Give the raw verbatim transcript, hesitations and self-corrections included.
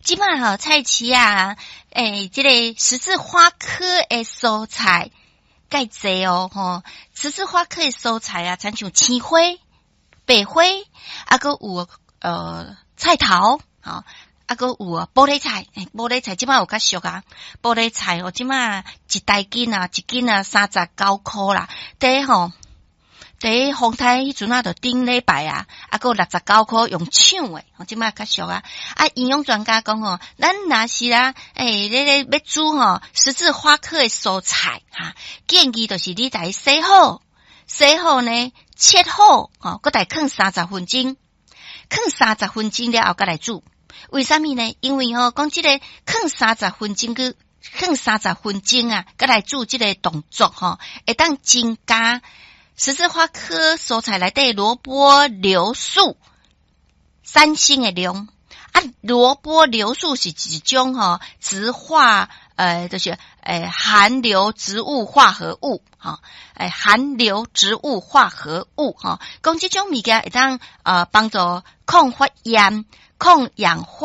這擺吼菜市仔，欸，這個十字花科的蔬菜蓋濟哦，吼，十字花科的蔬菜啊，親像青花、白花，啊，閣有呃菜頭，吼，啊，閣有啊，玻璃菜，欸，玻璃菜這擺有較俗啊，玻璃菜哦，這擺一大斤啊，一斤啊，三十九箍啦，佇吼，佇風颱彼陣啊，就頂禮拜啊，啊，閣六十九箍用搶的，吼，這擺較俗啊。啊，營養專家講吼，咱若是啊，欸，咧咧欲煮吼十字花科的蔬菜，哈，建議就是你共伊洗好，洗好呢，切好，吼，閣共囥三十分鐘，囥三十分鐘了後，閣來煮。為啥物呢？因為吼，講這個囥三十分鐘去囥三十分鐘啊，閣來煮這個動作吼，會當增加十字花科蔬菜內底蘿蔔硫素產生的量。啊，蘿蔔硫素是一種吼植化，呃，就是欸含硫植物化合物，吼，欸含硫植物化合物，吼，講這種物件會當呃幫助抗發炎、抗氧化。